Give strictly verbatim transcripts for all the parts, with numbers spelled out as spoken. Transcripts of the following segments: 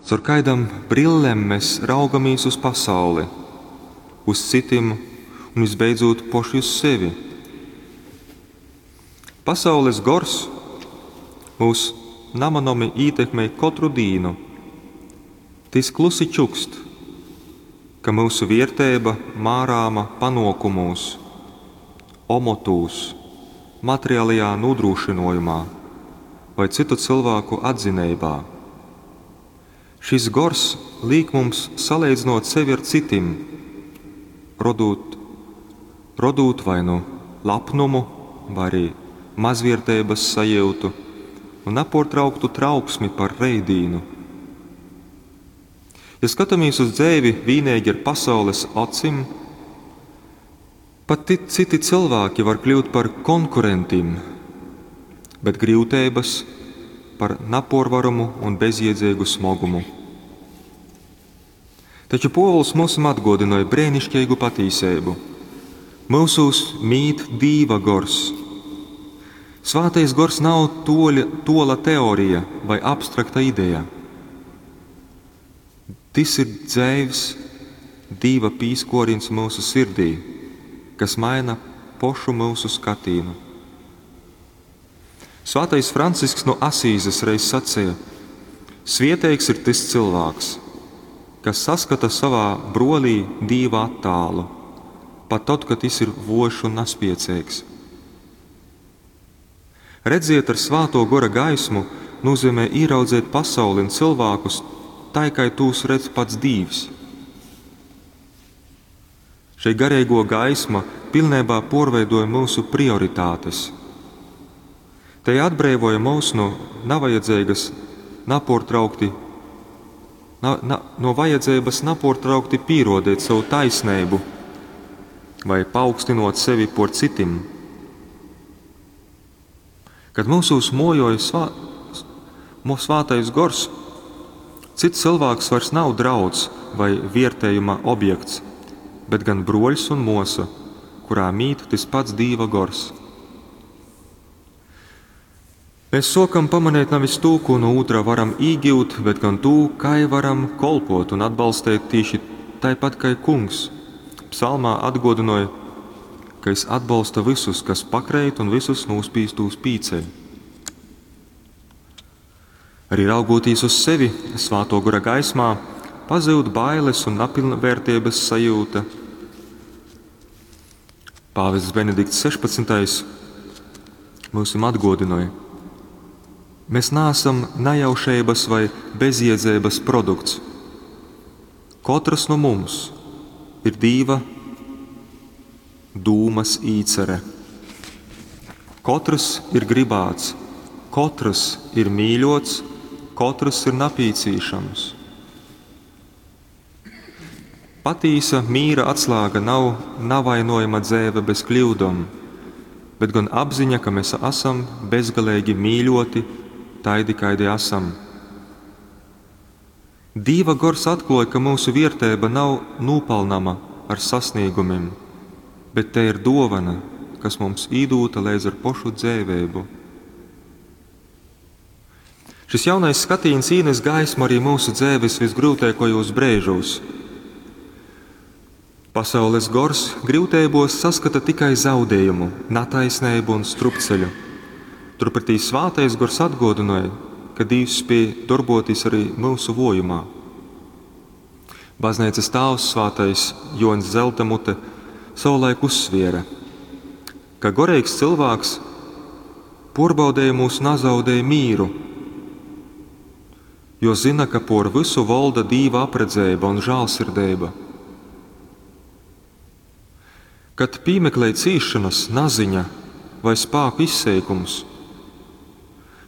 Caur kaidam brillem mēs raugamīs uz pasauli, uz citim un visbeidzūt poši uz sevi. Pasaules gors mūs namanomi ītekmej kotru dīnu. Tys klusi čukst, ka myusu vierteiba mārāma panuokumūs, omotūs, materialajā nūdrūšynuojumā voi cytu cylvāku atzineibā. Šis gors līk mums saleidzynuot sevi ar cytim, rodūt, rodūt vai nu lapnumu, vai arī mazvierteibys sajiutu un napuortrauktu trauksmi par reitdīnu. Ja skatāmies uz dzeivi vīneigi ar pasaules acim, pat citi cylvāki var kļūt par konkurentim, bet gryuteibys par napuorvaramu un bezjiedzeigu smogumu. Taču Pōvuls myusim atguodynoj breiniškeigu patīseibu. Myusūs mīt Dīva gors. Svātais gors nav tuoļa, tuola teorija vai abstrakta ideja. Tys ir dzeivs Dīva pīskuorīņs myusu sirdī, kas maina pošu myusu skatīnu. Svātais Francisks no Asīzes reiz saceja: Svieteigs ir tys cylvāks, kas saskata savā brolī Dīva attālu, pat tod, kad jis ir vuojš un naspieceigs. Redziet ar svāto gora gaismu nozīmē ieraudzēt pasauli un cilvēkus tai, kā tūs redz pats Dīvs. Šei garīgo gaisma pilnībā porveidoja mūsu prioritātes. Te atbreivoja mūs no navajadzīgas, naportraukti, na, na, no vajadzības naportraukti pīrodēt savu taisnību vai paaugstinot sevi por citim. Kad mūsūs mojoja svā, svātais gors, cits cilvēks vairs nav drauds vai viertējuma objekts, bet gan broļs un mosa, kurā mīt tas pats Dīva gors. Mēs sokam pamanīt nevis to, ko no otra varam īgiūt, bet gan to, kā varam kolpot un atbalstīt tieši tāpat kā kungs. Psalmā atgodināja, ka es atbalsta visus, kas pakreit un visus nūspīstūs pīceļ. Arī raugoties uz sevi svāto gora gaismā, pazūd bailes un napilnvērtības sajūta. Pāvests Benedikts sešpadsmitais mūsim atgodināja: mēs neesam nejaušības vai bezjēdzības produkts. Katrs no mums ir Dīva dūmas īcere. Katrs ir gribāts, katrs ir mīļots, katrs ir napīcīšams. Patīsa mīra atslēga nav navainojama dzēve bez kļūdom, bet gan apziņa, ka mēs esam bezgalīgi mīļoti, taidi, kaidi esam. Dīva gors atklāja, ka mūsu viertēba nav nopelnama ar sasniegumiem, bet te ir dovana, kas mums īdūta līdz ar pošu dzēvēbu. Šis jaunais skatīns īnes gaismu arī mūsu dzēves visgrūtākajos brēžos. Pasaules gors grūtībos saskata tikai zaudējumu, netaisnību un strupceļu. Turpretī svātais gors atgodināja, ka Dievs spēj darboties arī mūsu vojumā. Baznīcas tēvs svātais Joņs Zeltamute savulaik uzsviera, ka gorīgs cilvēks porbaudējumos nazaudēja mīru, jo zina, ka por visu valda Dīva apredzēba un žālsirdība. Kad piemeklē cīšanas, naziņa vai spēku izseikums,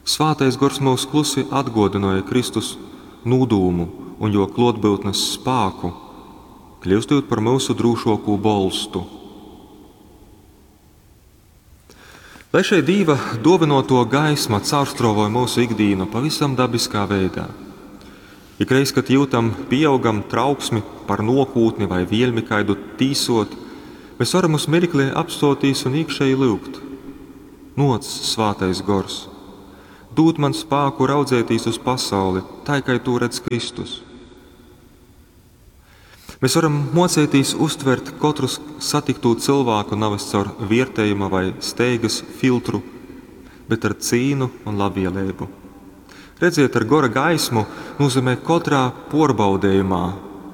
svātais gors mūs klusi atgodināja Kristus nūdūmu un jo klotbūtnes spēku, kļūstot par mūsu drūšoku bolstu. Lai šeit Dīva dovinoto gaisma caurstrāvoja mūsu ikdienu pavisam dabiskā veidā. Ikreiz, kad jūtam pieaugam trauksmi par nokūtni vai vielmi kaidu tīsot, mēs varam uz mirkli apstoties un iekšēji lūgt. Noc, svātais gors, Dūd man spāku raudzētīs uz pasauli, tai, kai tū redz Kristus. Mēs varam mocētīs uztvert katru satiktū cilvēku nevis caur viertējuma vai steigas filtru, bet ar cīnu un labvēlību. Redziet, ar gora gaismu nozīmē katrā porbaudējumā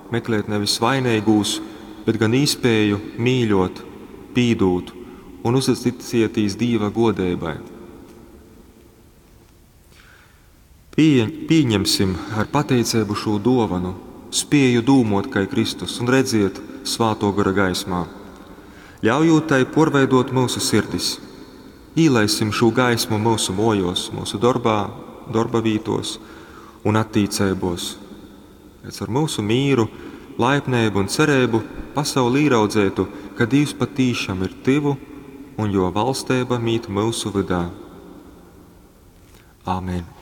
meklēt nevis vainīgūs, bet gan īspēju mīļot, pīdūt un uzticēties Dieva godībai. Pie, pieņemsim ar pateicību šo dāvanu, spēju dūmot kā Kristus un redziet svāto gara gaismā. Ļaujot tai porveidot mūsu sirdis. Īlaisim šo gaismu mūsu mojos, mūsu darbā, darba vītos un attīcībos. Lai ar mūsu mīru, laipnību un cerību pasauli ieraudzētu, ka Dievs patīšām ir tuvu un jo valstība mīt mūsu vidā. Āmen!